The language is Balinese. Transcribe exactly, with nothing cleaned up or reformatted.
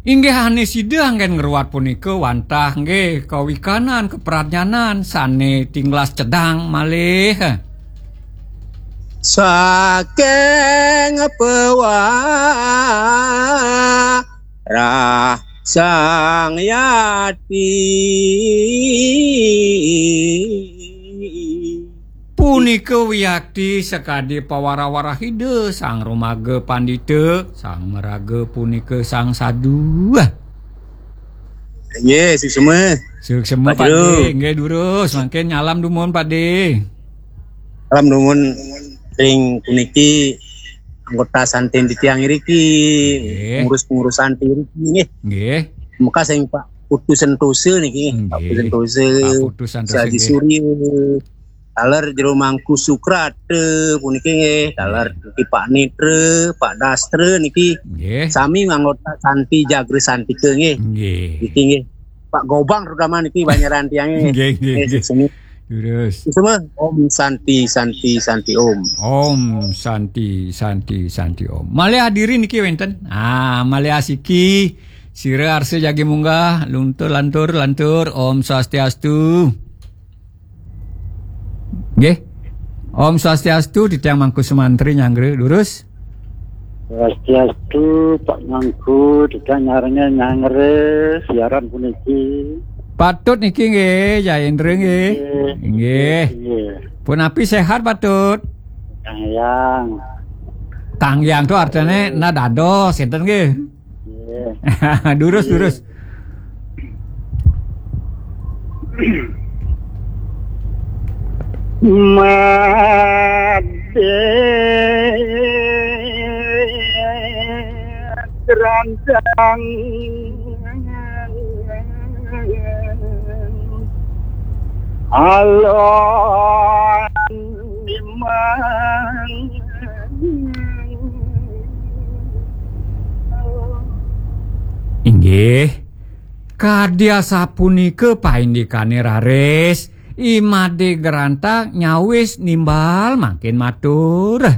Inggih, ané sida anggén ngruat punika wantah nggih kawikanan kapradnyanan sané tinglas cedhak malih. Saking pawarah Sang Yati. Punika wiakti sakadi pawarah-warah Ida, sang rumaga pandita, sang maraga punika sang sadu. Nggih, suksma. Suksma, Pak Jero. Pakde. Nggih, durus. Mangkin nyalam dumun, Pakde. Salam dumun ring puniki anggota santin titiang iriki, nggih, pengurus-pengurusan iriki nggih. Nggih. Maka sing Pak Putu Sentosa niki, Pak Putu Sentosa, Pak Putu Sentosa, Haji nggih. Surya, taler Jero Mangku Sukrata puniki nggih, taler niki Pak Nitra, Pak Dastra niki. Nggih. Sami anggota Santi Jagra Santika nggih. Nggih. Niki nggih. Pak Gobang terutama niki banyaran tiangnya. Nggih, nggih, nggih. Sini. Terus. Semua Om Santi, Santi, Santi Om. Om Santi, Santi, Santi Om. Malih adiri niki wénten. Ah, malih asiki. Sira arsa jagi munggah, luntur, lantur, lantur. Om Swastiastu. Nggih. Om Swastiastu, titiang Mangku Sumantri nyanggra, durus. Swastiastu, Pak Mangku, titiang nyarengin nyanggra siaran puniki. Patut niki nggih, Jaindra nggih. Nggih. Nggih. Nggih. Punapi sehat, Patut? Kang Yang. Kang Yang to artine na dados, sinten nggih? Nggih. Durus, nggih. Durus. Madé Grantang Alon Dimang. Inggih. Kadi asapunika paindikane raris, I Madé Grantang nyawis nimbal mangkin matur.